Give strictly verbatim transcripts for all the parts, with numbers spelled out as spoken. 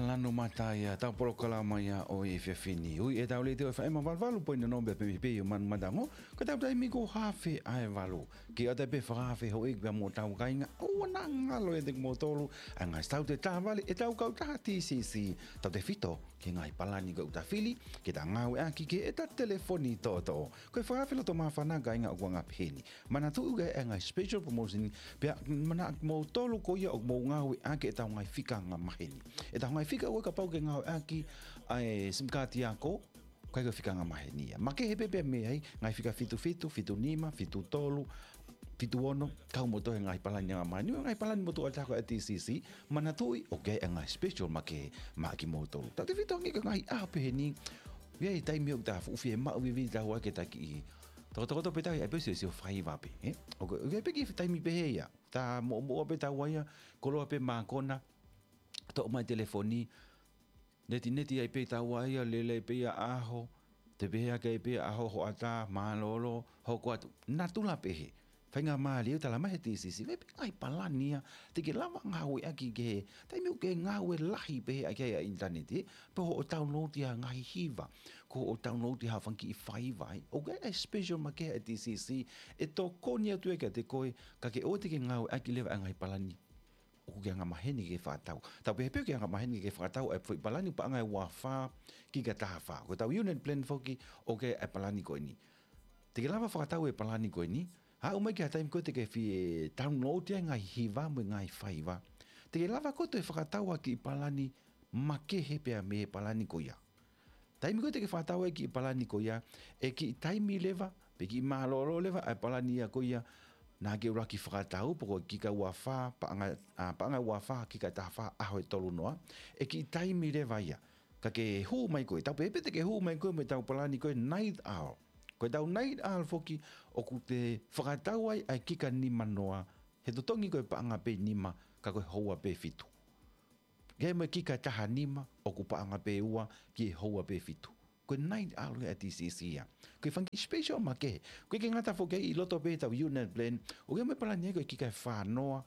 Lanu mata ia, tau polokalama ia ʻo e efiafi ni. Ui ʻetau letiō ʻe FM valu valu poini ono pea pehē pē ʻo Manu Matango, ko ʻetau taimi ko e haafe ʻa e valu. Ke ʻoatu pē fakaafe houʻeiki pea mo hotau kāinga, ʻoua naʻa ngalo ʻiate kimoutolu ʻa e ngaahi tautefito tāvali ʻetau kautaha TCC, tautefito ki he ngaahi palani ko ē ʻoku ta fili ke ta ngāueʻaki ki heʻeta telefoni toʻotoʻo. Ko e fakaafe loto māfana kāinga ʻoku anga pehē ni. Manatuʻi ʻoku ʻi ai e ngaahi special promotion, pea manatuʻi kimoutolu ko ia ʻoku mou ngāueʻaki ʻetau ngaahi fika angamaheni. ʻEtau ngaahi fika ʻoku ʻikai, kapau ʻoku ke ngāueʻaki ʻa e SIM kaati ako, ʻoku ʻikai ko e fika angamaheni ia. Makehe pē pea mei ai, ngaahi fika fitu fitu, fitu nima, fitu tolu, fitu ono, kau mo e toe ngaahi palani angamaheni, ngaahi palani motuʻa taha ko ē ʻa e TCC, manatuʻi ʻoku ʻi ai e ngaahi special makehe maʻa kimoutolu. Tautefito ange ki he ngaahi ʻaho pehē ni, ʻoku ʻi ai e taimi ʻoku ta fuʻu fiemaʻu vivili taua ke ta kiʻi tokotokoto pē taua ia, ʻai pē siʻo, siʻo faiva pē, ē? ʻOku, ʻoku ʻi ai pē kiʻi taimi pehē ia. Ta moʻomoʻua pē taua ia, koloa pē mākona, toʻo mai telefoni, netineti ai pē taua ia, lele pē ia ʻaho, te pehē hake ai pē ʻaho, hoʻatā, mālōlō, hoko atu, natula pehē. Faingamālie ʻoku tala mai he TCC, ʻoku ʻi ai pē ngaahi palani ia te ke lava ngāueʻaki ki he taimi ʻoku ke ngāue lahi pehē ʻaki ai ʻa e ʻinitaneti, pe hoʻo download ia ngaahi hiva, ko hoʻo download ia ha fanga kiʻi faiva ai. ʻOku ʻi ai e special makehe ʻa e TCC ʻe tokoni atu ia kiate koe, ka ke ʻoua te ke ngāueʻaki leva ʻa e ngaahi palani ʻoku ke angamaheni ke fakatau. Tau pehē pē ʻoku ke angamaheni ke fakatau ʻa e foʻi palani paʻanga ʻe ua fā kika taha fā. Ko ʻetau unit plan foki ʻoku ʻi ai e palani ko eni. Te ke lava fakatau e palani ko eni, haʻu mai ki ha taimi ko ē te ke fie download ai e ngaahi hiva mo e ngaahi faiva. Te ke lava koe ʻo toe fakatau ha kiʻi palani makehe pea mei he palani ko ia. Taimi ko ē te ke fakatau ai e kiʻi palani ko ia, ʻe kiʻi taimi leva, pe kiʻi mālōlō leva ʻa e palani ia ko ia naʻa ke ʻuluaki fakatau, pe ko e kika ua fā, paʻanga, ʻa, paʻanga ua fā, kika taha fā, ʻaho ʻe tolu noa, ʻe kiʻi taimi leva ia. Ka ke hū mai koe, tau pehē pē te ke hū mai koe mo ʻetau palani ko e Night Owl. Ko ʻetau Night Owl foki ʻoku te fakatau ai ʻa e kika nima noa, he totongi ko e paʻanga pē nima, ka ko e houa pē fitu. Ke mo e kika taha nima, ʻoku paʻanga pē ua ki he houa pē fitu. Ko e Night Owl ʻa e TCC ia. Ko e fanga kiʻi special makehe. ʻOku ʻikai ke ngata foki ai, ʻi loto pē ʻetau unit plan, ʻoku ʻi ai mo e palani ia ko e kika ʻe fā noa,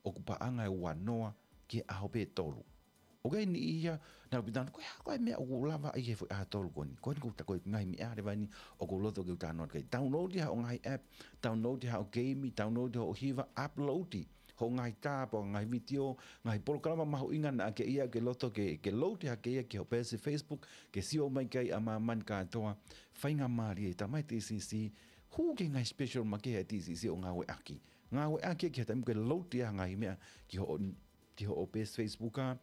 ʻoku paʻanga ʻe ua noa ki he ʻaho pē ʻe tolu. ʻOku ʻi ai e niʻihi ia naʻa nau pehē, ko e hā koā e meʻa ʻoku lava ai he foʻi ʻaho ʻe tolu ko eni? Ko eni ko ʻetau ngaahi meʻa leva eni ʻoku loto ke u talanoa ki ai. Download ia hoʻo ngaahi app, download ia hoʻo game, download ia hoʻo hiva, upload ia hoʻo ngaahi tā, pe ko e ngaahi vitiō, ngaahi polokalama mahuʻinga naʻa ke ʻi ai, ke loto ke, ke load hake ia ki hoʻo peesi Facebook, ke sio mai ki ai ʻa māmani kātoa. Faingamālie, tala mai he TCC, hū ki he ngaahi special makehe ʻa e TCC ʻo ngāueʻaki. Ngāueʻaki ki he taimi ʻoku ke load ai ha ngaahi meʻa ki hoʻo, ki hoʻo peesi Facebook ā,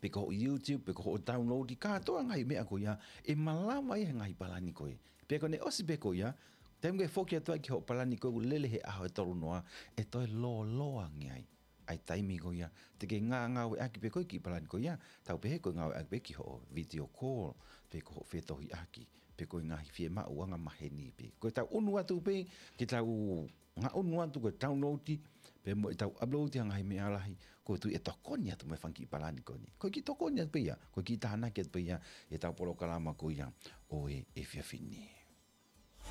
pe ko hoʻo YouTube, pe ko hoʻo download, kātoa ngaahi meʻa ko ia, ʻe malava ia he ngaahi palani ko ē. Pea ko ʻene ʻosi pē ko ia, taimi ʻoku ke foki atu ai ki hoʻo palani ko ē ʻoku lele he ʻaho ʻe tolu noa, ʻe toe lōloa ange ai ʻa e taimi ko ia te ke ngā-, ngāueʻaki pē koe ki he palani ko ia, tau pehē ko e ngāueʻaki pē ki hoʻo video call, pe ko hoʻo fetohiʻaki, pe ko e ngaahi fiemaʻu angamaheni pē. Ko ʻetau ʻunu atu pē, ke tau ngaʻunu atu ko e download, pea mo ʻetau upload ha ngaahi meʻa lahi, ko e tui ʻe tokoni atu mo e fanga kiʻi palani ko eni. Ko e kiʻi tokoni atu pē ia, ko e kiʻi tānaki atu pē ia ʻetau polokalama ko ia ʻo e efiafi ni.